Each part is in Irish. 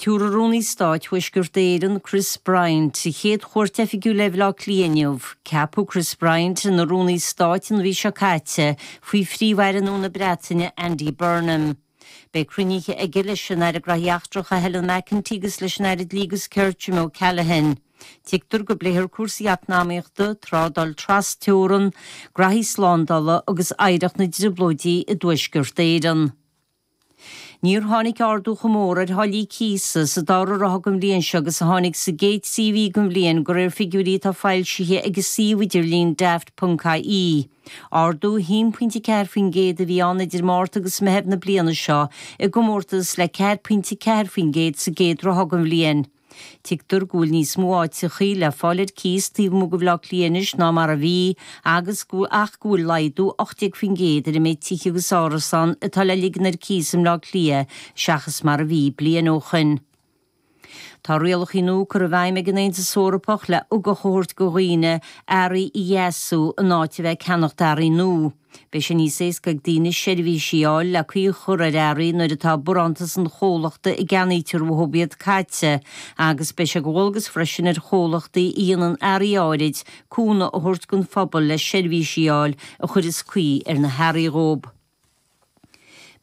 Tabharfaidh Rúnaí Stáit Thuaisceart Éireann, Chris Bryant, a chéad chuairt oifigiúil ar Bhaile Átha Cliath inniu. Ceapadh Chris Bryant ina Rúnaí Stáit an mhí seo caite faoi Phríomh-Aire nua na Breataine, Andy Burnham. Beidh cruinnithe aige leis an Aire Graithí Eachtracha Helen McEntee agus leis an Aire Dlí agus Cirt Jim O'Callaghan. Tuigtear go bpléifear cúrsaí eacnamaíochta, trádáil tras-teorann, graithí slándála agus oidhreacht na dTrioblóidí i dTuaisceart Éireann. Níor tháinig ardú chomh mór ar tháillí cíosa sa dara ráithe den bhliain seo agus a tháinig sa gcéad 3 mhí den bhliain, de réir figiúirí atá foilsithe ag an suíomh idirlín daft.ie. Ardú 1.4% a bhí ann idir Márta agus Meitheamh na bliana seo i gcomórtas le 4.4% sa gcéad ráithe den bhliain. Tuigtear go bhfuil níos mó áiteachaí le fáil ar cíos taobh amuigh de Bhaile Átha Cliath anois ná mar a bhí agus go ach go bhfuil laghdú 18% ar an méid tithe agus árasán atá le ligean ar cíos i mBleá Cliath seachas mar a bhí bliain ó shoin. Tá rialachaí nua curtha i bhfeidhm ag an Aontas Eorpach le ugach a thabhairt do dhaoine earraí a dheasú in áit a bheith ag ceannacht earraí nua. Beidh sé níos éasca ag daoine seirbhísí a fháil le caoi a chur ar earraí nuair atá barántas an chomhlachta a gceannaítear uathu iad caite agus beidh sé de dhualgas freisin ar chomhlachtaí a dhéanann earraí áirid cúnamh a thabhairt don phobal le seirbhísí a fháil a chuireas caoi ar na hearraí dhóibh.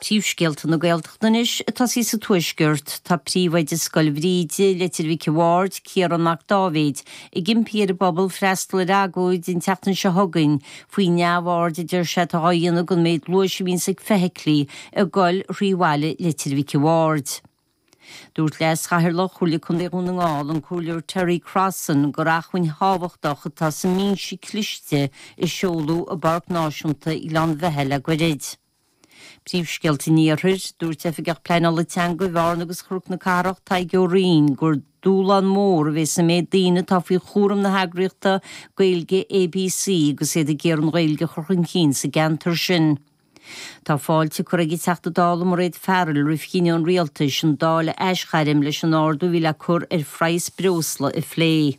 Príomhscéalta na Gaeltachta anois, ag tosaí sa Tuaisceart. Tá príomhoide Scoil Bhríde, Leitir Mhic a' Bhaird, Ciarán Mac Dáibhéid, ag impí ar an bpobal freastal ar agóid an tseachtain seo chugainn faoi neamhaird a deir sé atá á dhéanamh den méid luais a bhíonns ag feithiclí ag goil thrí bhaile Leitir Mhic a' Bhaird. Dúirt Leas-Chathaoirleach Chomhairle Contae Dhún na nGall, an Comhairleoir Terry Crossan, gur acmhainn thábhachtach atá sa mbinse cliste a seoladh i bPáirc Náisiúnta Ghleann Bheatha le goirid. Príomhscéalta an Iarthair, Dúirt Oifigeach Pleanála Teanga Bhearna agus Chnoc na Cathrach, Tadhg Ó Rinn, gur dúshlán mór a bheidh sa méid daoine atá faoi chúram na heagraíochta Gaeilge ABC agus iad ag iarraidh an Ghaeilge a chur chun cinn sa gceantar sin. Tá fáilte curtha ag an Teachta Dála Mairéad Farrell roimh chinneadh an Rialtais an Dáil a aisghairm leis an ardú a bhí le cur ar phraghas breosla a phlé.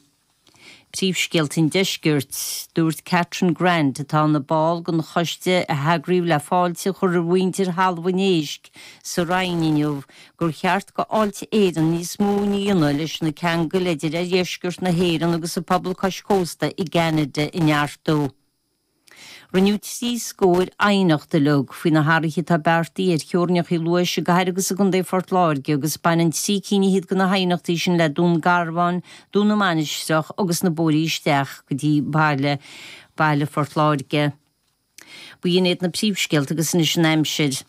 Príomhscéalta an Deiscirt, Dúirt Catherine Grant, atá ina ball den choiste a heagraíodh le fáilte a chur roimh mhuintir Thalamh an Éisc sa Rinn inniu, gur cheart go Fháilte Éireann níos mó a dhéanamh leis na ceangail idir oirdheisceart na hÉireann agus an pobal cois cósta i gCeanada a neartú. Rinneadh 3 scór aighneacht uilig faoi na hathruithe atá beartaithe ar theorainneacha luais i gcathair agus i gcontae Phort Láirge agus baineann 3 cinn fhichead de na haighneachtaí sin le Dún Garbhán, Dún na Mainistreach agus na bóithrí isteach go dtí baile baile Phort Láirge. B'in iad na príomhscéalta agus anois an aimsir.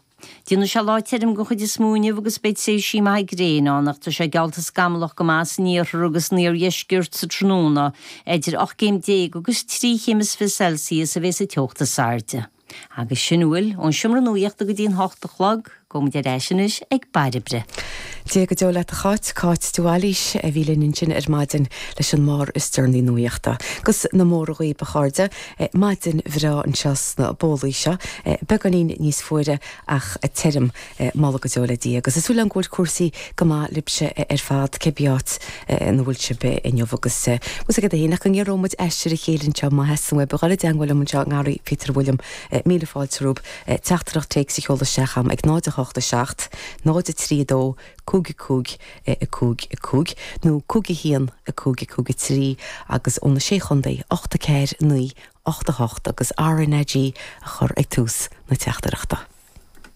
Déanfaidh sé lá tirim den chuid is mó inniu agus beidh tréimhsí maithe gréine ann ach tá sé geallta scamallach go maith san iarthar agus san iardheisceart sa tráthnóna. Idir 18 céim agus 23 chéim Celsius a bheas an teocht is airde. Agus sin a bhfuil ón seomra nuachta go dtí an 8 a chlog. Gabhfaidh muid ar ais anois ag Bairbre. Dia go deo leat a Cháit, Cáit de Bhailís a bhí linn ansin ar maidin leis an mbarr is deireanaí nuachta. Agus na móra dhaoib a chairde. Maidin bhreá anseo sna bólaí seo, beagáinín níos fuaire ach tirim, moladh go deo le Dia. Agus tá súil agam go bhfuil cúrsaí go maith libhse ar fad, cibé áit ina bhfuil sibh inniu. Agus bhfuil 's agat féin ach go ngiorróidh muid aistear a chéile anseo má theastaíonn uaibh a dhul i dteangmháil liom anseo i nGarraí Peter William, míle fáilte romhaibh. Teachtaireacht téacs a sheoladh isteach agam ag 0 8 7 0 3 2 5 5 5 5 nó 5 1 5 5 3 agus ó na Sé Chontae 8 4 9 8 8 agus RnaG a chur ag tús na teachtaireachta.